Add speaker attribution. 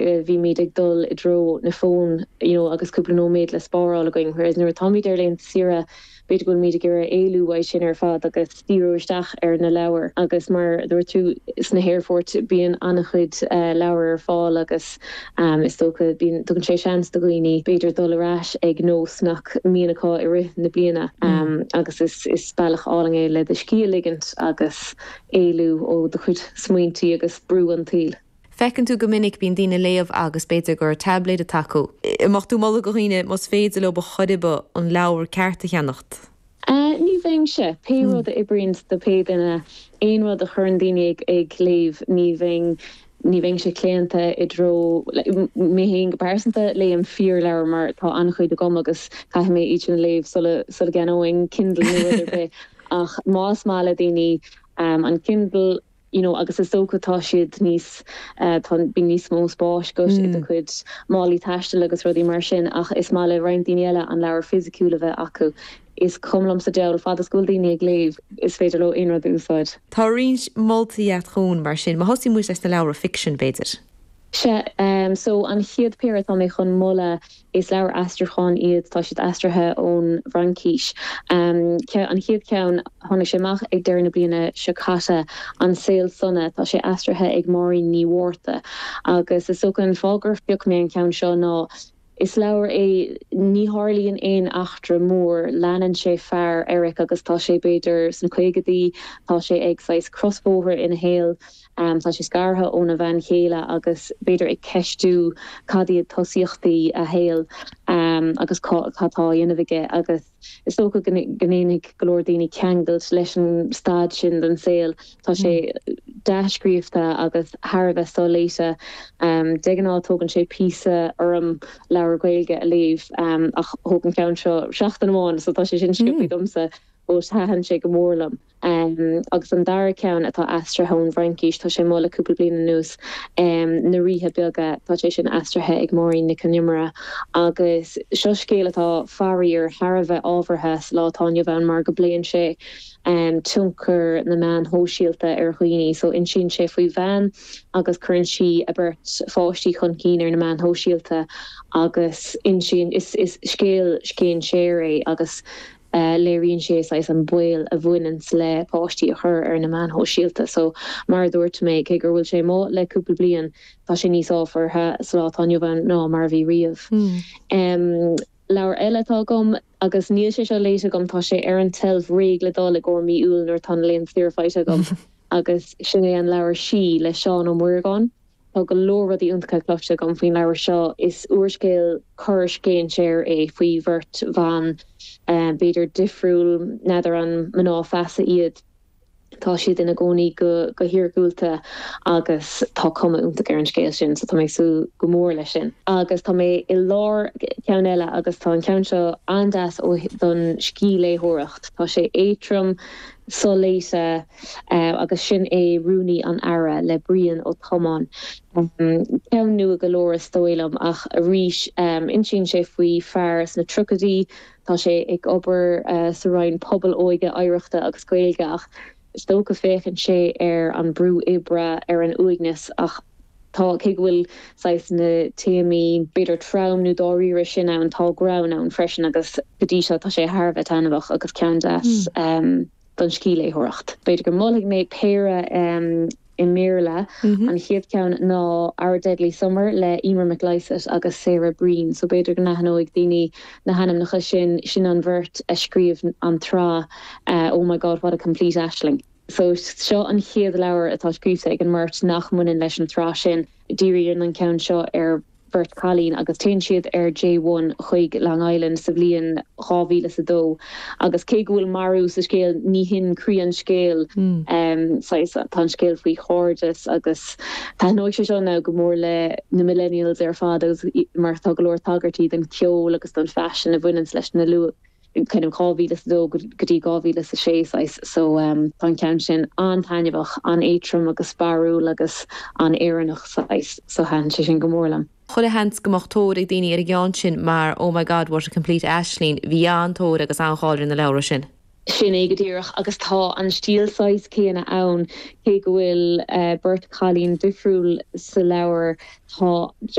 Speaker 1: Bhímid ag dul i dtreo na fón you know agus cúpla nóiméad le spáráil againn whereas nuair atáimid ar laethanta saoire b'fhéidir go bhfuilimid ag iarraidh éalú uaidh sin ar fad agus díriú isteach ar na leabhair agus mar a dúirt tú sna haerfoirt bíonn an-chuid leabhar ar fáil agus is dócha bíonn tugann sé seans do dhaoine b'fhéidir dul ar ais ag nós nach mbíonn acu i rith na bliana agus is is bealach álainn é le do scíth a ligint agus éalú ó do chuid smaointí agus brú an tsaoil.
Speaker 2: Feiceann tú go minic, bíonn daoine ag léamh agus b'fhéidir gur tablet atá acu. An mbeadh tú ag moladh do dhaoine, más féidir leo ar chor ar bith, an leabhar ceart a cheannacht?
Speaker 1: Ní bheinnse. Pé rud a oibríonn do pé duine, aon rud a chuireann daoine ag léamh, ní bheinn, ní bheinnse claonta i dtreo, mé féin go pearsanta, léim fíorleabhar mar tá an-chuid agam agus caithfidh mé iad sin a léamh sula, sula gceannóinn Kindle nó rud ar bith. Ach más maith le daoine an Kindle, you know agus is dócha tá siad níos tá bíonn níos mó spáis agat i do chuid málaí taistil agus rudaí mar sin ach is maith le roinnt daoine eile an leabhar fisiciúil a bheith acu. Is cuma liom sa diabhal, fad is go bhfuil daoine ag léamh is féidir leo aon rud a úsáid.
Speaker 2: Tá roinnt moltaí agat chugainn mar sin. Má thosaíonn muid leis na leabhra ficsin, b'fhéidir.
Speaker 1: Sea, so an chéad péire atá mé chun moladh Is leabhair aistriúcháin iad, tá siad aistrithe ón bhFraincís. An chéad cheann, tháinig sé amach ag deireadh na bliana seo caite, An Saol Sona, tá sé aistrithe ag Máirín Ní Mhárta. Agus is dócha an fáth gur phioc mé an ceann seo ná is leabhar é, ní tharlaíonn aon eachtra mór, leanann sé fear, Eric, agus tá sé b'fhéidir sna caogadaí, tá sé ag saghas crosbhóthar ina shaol. Tá sé scartha óna bhean chéile agus b'fhéidir ag ceistiú cad iad tosaíochtaí a shaoil agus cad tá á dhéanamh aige agus is dócha go ndéanfaidh go leor daoine ceangailt leis an staid sin den saol. Tá sé dea-scríofa agus thar a bheith soléite. De ghnáth tógann sé píosa orm leabhar Gaeilge a léamh ach thóg an ceann seo seachtain amháin so tá sé sin sciobtha domsa but thaitin sé go mór liom. Agus an dara ceann atá aistrithe ón bhFraincís, tá sé amuigh le cúpla bliain anuas, Na Ríthe Beaga, tá sé sin aistrithe ag Máirín Nic Con Iomaire. Agus seo scéal atá, faraor, thar a bheith ábhartha sa lá atá inniu ann mar go bpléann sé tionchar na meáin shóisialta ar dhaoine. So insíonn sé faoi bhean agus cuireann sí a beirt pháistí chun cinn ar na meáin shóisialta agus insíonn, is scéal scéinséir é agus léiríonn sé saghas an baol a bhaineanns le páistí a chur ar na meáin shóisialta. So, mar a dúirt mé, cé gur bhfuil sé amuigh le cúpla bliain, tá sé níos ábhartha sa lá atá inniu ann ná mar a bhí riamh. Leabhar eile atá agam, agus níl sé seo léite agam, tá sé ar an tseilf réidh le dul i gcomhair mí Iúil nuair atá na laethanta saoire faighte agam, agus sin é an leabhar Sí le Seán Ó Muireagáin. Tá go leor rudaí iontacha cloiste agam faoin leabhar seo. Is úrscéal coir scéinséir é faoi bheirt bhan, b'fhéidir difriúil, n'fheadar an mná feasa iad. Tá siad ina gcónaí go hiargúlta agus tá cuma iontach ar an scéal sin so tá mé ag súil go mór leis sin. Agus tá mé i lár ceann eile agus tá an ceann seo an-deas don scíthléitheoireacht. Tá sé éadtrom, soléite agus sin é Rúnaí an Aire le Brian Ó Tiomáin. Ceann nua go leor is dóigh liom ach arís insíonn sé faoi fear sna tríochaidí, tá sé ag obair sa Roinn Pobail, Óige, Oidhreachta agus Gaeilge ach is dócha féachann sé ar an brú oibre, ar an uaigneas ach tá, cé go bhfuil saghas na téamaí b'fhéidir trom nó dáiríre sin ann, tá greann ann freisin agus go dtí seo tá sé thar a bheith taitneamhach agus ceann deas don scíthléitheoireacht. B'fhéidir go molfaidh mé péire i mBéarla. An chéad cheann ná Our Deadly Summer le Emer McLysaght agus Sarah Breen. So b'fhéidir go n-aithneoidh daoine na hainmneacha sin, sin an bheirt a scríobh an tsraith Oh My God, What a Complete Aisling. So seo an chéad leabhar atá scríofa ag an mbeirt nach mbaineann leis an tsraith sin. Díríonn an ceann seo ar bheirt chailín agus téann siad ar J1 chuig Long Island sa bhliain 2002 agus cé go bhfuil marú sa scéal ní hin croí an scéil. Saghas tá an scéal faoi chairdeas agus taitneoidh sé seo now go mór le na millennials ar fad agus mar tá go leor tagairtí don cheol agus don faisean a bhaineanns leis na luath kind of 2002 go dtí 2006 saghas so tá an ceann sin an-taitneamhach, an-éadtrom agus barrúil agus an-Éireannach saghas so thaitin sé sin go mór liom.
Speaker 2: Chuile sheans go mbeadh tóir ag daoine ar an gceann sin mar Oh My God, What a Complete Aisling, bhí an-tóir agus an-cháil ar na leabhra sin.
Speaker 1: Sin é go díreach, agus tá an stíl saghas céanna ann, cé go bhfuil beirt chailín difriúil sa leabhar, tá.